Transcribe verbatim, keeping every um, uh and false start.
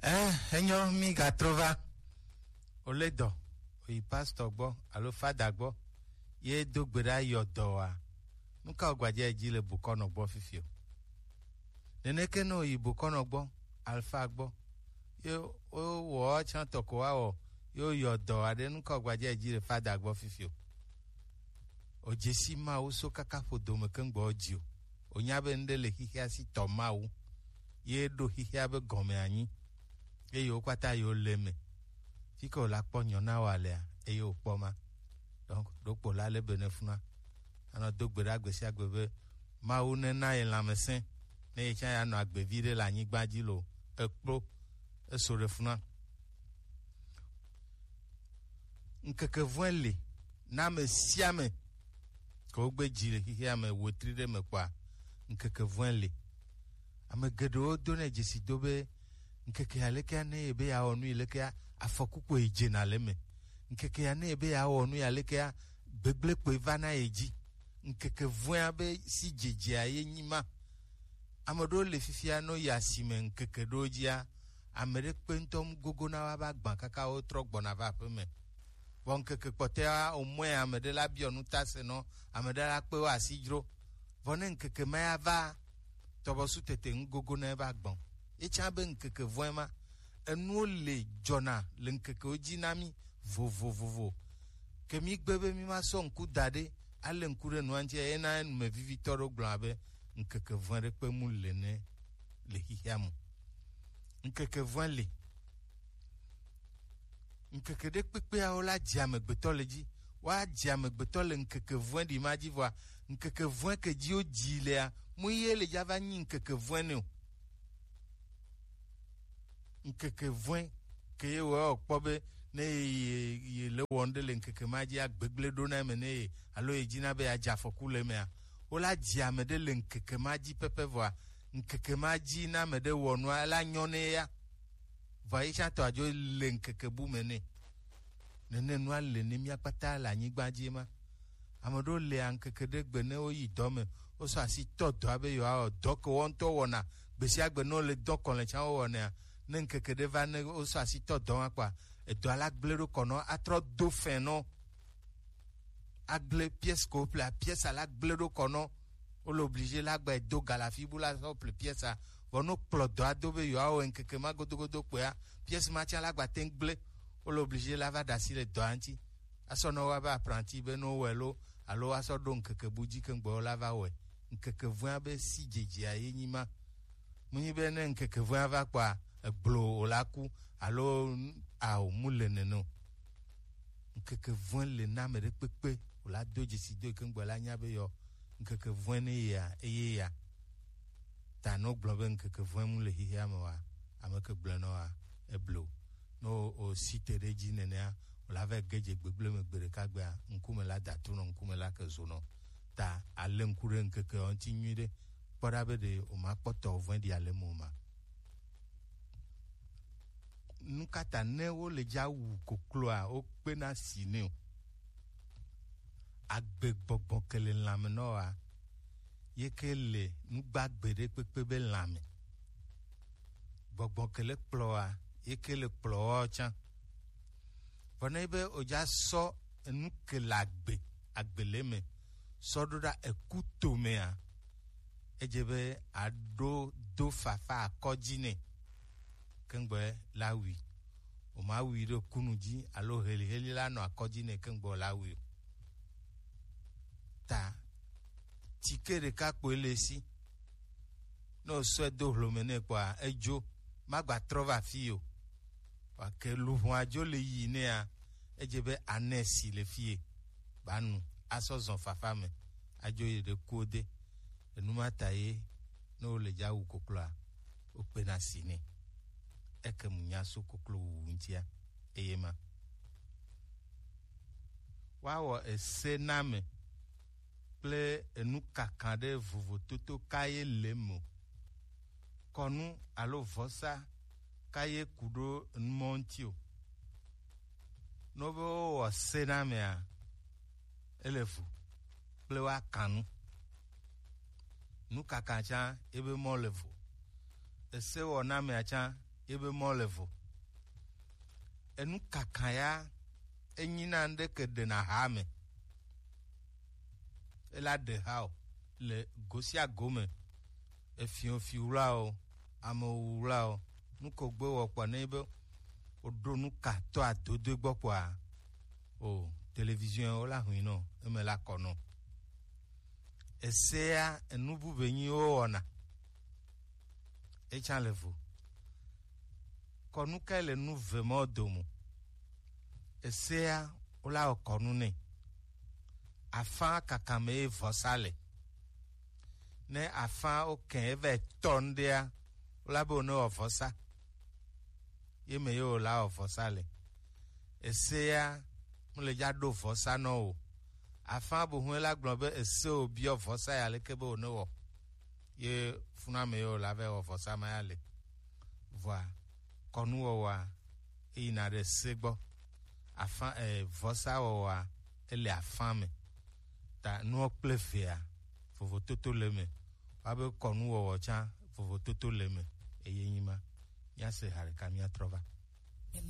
Eh, enyo, mi gatrɔ va. Ole dɔ, oyi pastor gbɔ alo fada gbɔ, ye do gbe ɖa yɔ dɔ wa. Nu ka wògbaje dzi le bokɔnɔ gbɔ fifi o? Neneke ne oyi bokɔnɔ gbɔ, alfa gbɔ, ye wowɔ tsã tɔ ko wa wɔ, ye woyɔ dɔ wa ɖe, nu ka wògbaje dzi le fada gbɔ fifi o? Òdze si Mawu so kaka ƒodo me keŋgbɔ dzi o. Ònya be ŋɖe le xixea si tɔ Mawu, ye ɖo xixea be gɔme anyi, eye wo kpata yewo le eme. Fi ke wòla kpɔ nyɔ na wò alea, eye wòkpɔ ma. Donc, ɖokpo la le be ne funa. Anɔ do gbe ɖa gbe sia gbe be Mawu nena ye lãmesẽ, ne ye tsã ya nɔ agbe vi ɖe le anyigba dzi lo. Ekplo, eso ɖe funa. Ŋkeke vɔ̃e li na ame sia ame ke wogbe dzi le xexea me wetri ɖe me kpɔa, ŋkeke vɔ̃e li. Ame geɖewo do nɛ dzesi do be ŋkeke ya lekea ne ye be yeawɔ nu yi lekea, afɔku koe dzena le eme. Ŋkeke ya ne ye be yeawɔ nu ya lekea, gbegblẽ koe vana ye dzi. Ŋkeke vɔ̃ea be si dzedzea ye nyi ma. Ame ɖewo le fifia, ne woyi asime ŋkeke ɖewo dzia, ame ɖe kpe ŋutɔ mu gogona woava gbã kaka wotrɔ gbɔna va aƒeme. Vɔ ŋkeke kpɔtɔea, wòmɔe ame ɖe la biɔ nu ta se nɔ, ame ɖe la kpe wo asi dzro. Vɔ ne ŋkeke ma ya va, tɔbɔsu tete ŋu gogona eva gbɔn. Ye tsã be ŋkeke vɔ̃e ma, enuwo le dzɔna le ŋkekewo dzi na mí vovovovo. Ke mí gbe be mí ma sɔ ŋku da ɖe, ale ŋku ɖe nua ŋuti, eye na numevivitɔ ɖewo gblɔna be ŋkeke vɔ̃e ɖe kpe mu le ne le xixea me. Ŋkeke vɔ̃e li. Ŋkeke ɖe kpekpea wola dzi amegbetɔ le dzi. Woadzi amegbetɔ le ŋkeke vɔ̃e ɖi ma dzi vɔa, ŋkeke vɔ̃e ke dzi wodzi lea, mu ye le dza va nyi ŋkeke vɔ̃e nɛ o. Ŋkeke vɔ̃e ke ye wɔ kpɔ be ne ye, ye, ye le wɔm ɖe le ŋkeke ma dzi agbegblẽ ɖo na eme ne ye, alo ye dzina be yeadze afɔku le emea, wola dzi ame ɖe le ŋkeke ma dzi pɛpɛ vɔa, ŋkeke ma dzi na ame ɖe wɔ nua, ela nyɔ ne ya. Vɔa ye tsã tɔ adzo le ŋkeke bu me nɛ. Nene nua le ne mía kpata le anyigba dzi ma. Ame ɖewo le ŋkeke ɖe gbe ne woyi dɔ me, wosɔ asi tɔ dɔa be yewoawɔ dɔ ke woawo ŋutɔ wɔna. Gbe sia gbe ne wole dɔ kɔlɛ tsã wowɔnɛa, ne ŋkeke ɖe va ne wosɔ asi tɔ dɔ ma kpɔa, edɔa la gblẽ ɖo kɔ nɔ, atrɔ do fɛn nɔ. Agblẽ pièce ko ƒlea, pièce la gblẽ ɖo kɔ nɔ. Wole obligé la gba do galafi bu la sɔ ple pièce a. Vɔ no kplɔ dɔa do be yewoawɔe ŋkeke ma godogodo kpɔa, pièce ma tsã la gba te ŋu gblẽ. Wole obligé la va ɖe asi le dɔa ŋuti. Asɔ nɔ wa be apprenti be no wɔe lo, alo asɔ ɖo ŋkeke bu dzi ke ŋgbɔ la va wɔe. Ŋkeke vɔ̃a be si dzedzea ye nyi ma. Mu nyi be ne ŋkeke vɔ̃a va kpɔa, egblo wòla ku, alo ao mu le nene o. Ŋkeke vɔ̃e le na ame ɖe kpekpe wòla do dzesi do yi ke ŋgbɔ la nya be yɔ ŋkeke vɔ̃e ne yea, eye ya. Ta ne wogblɔ be ŋkeke vɔ̃e mu le xexea me wa, ame ke gblɔe nɔ wa, eblo. Ne wo, wo si te ɖe edzi nenea, wòla va ge dze gbegblẽ me gbe ɖeka gbea, ŋkume la da trunɔ, ŋkume la ke zonɔ. Ta ale ŋku ɖe ŋkeke ŋuti nyuiɖe, kpɔ ɖa be ɖe wòmakpɔ tɔ vɔ̃e ɖi ale me o ma. Nu ka ta ne wole dza wu kokloa, wokpena si nɛ o? Agbe gbɔgbɔ ke le lãme nɔ wa, ye ke le nugbagbe ɖe kpekpe be lãme. Gbɔgbɔ ke le kplɔ wa, ye ke le kplɔ wa tsã. Vɔ ne be wodza sɔ enu ke le agbe, agbe le me, sɔ ɖo ɖa eku tomea, edze be aɖo do fafa akɔ dzi nɛ. Keŋgbɔ la wui. Woma wui ɖo kunu dzi alo heliheli la nɔ akɔ dzi nɛ keŋgbɔ la wui o. Ta tike ɖeka kpoe le esi. Ne wosɔe do hlome nɛ kpɔa, edzo, magba trɔ va fi o. Vake luʋɔa dzo le yi nɛa, edze be anɛ si le fie, ba nu, asɔ zɔn fafa me, adzo yi ɖe kuwo de. Enu ma ta ye, ne wole dza wu kokloa, wokpena si nɛ. Eke mu nya so koklo wuwu ŋutia, eye ma. Woawɔ ese na ame kple enu kakã ɖe vovototo ka ye le eme o. Kɔnu alo vɔsa ka ye ku ɖo enumɔ ŋuti o. Ne wobe wowɔ se na amea, ele vo kple woakã nu. Nukaka tsã ebe mɔ le vo. Ese wɔ na amea tsã Ebe mɔ le vo. Enu kaka ya, enyi na ŋɖe ke ɖe na ha me. Ela ɖe ha o le gosia gome. Efiɔ fi wla o, ame wu wla o. Nu ko gbe wɔ kpɔ ne be o ɖo nu ka tɔ adodo gbɔ kpɔa, o télévision o la hui nɔ, eme la kɔ nɔ. Esea enu bu be nyi wo wɔna. Etsa le vo. Kɔnu kae le nu ve mɔ domo? Esea wola wɔ kɔnu nɛ. Afã kaka me ye vɔsa le. Ne afã wo kɛ eva tɔ ŋɖea, wola be wo ne wɔ vɔsa. Ye me ye wola wɔ vɔsa le. Esea mu le dza ɖo vɔsa nɔ o. Afã bu hu la gblɔ be ese wo biɔ vɔsa ya leke be wo ne wɔ. Ye funa me ye wola va wɔ vɔsa ma ya le. Vɔa kɔnuwɔwɔa eyina ɖe se gbɔ. Afã e vɔsawɔwɔa ele afã me. Ta nuɔ kple vea vovototo le me. Wa be kɔnuwɔwɔ tsã vovototo le me. Eye nyi ma. Míase ha ɖeka míatrɔ va.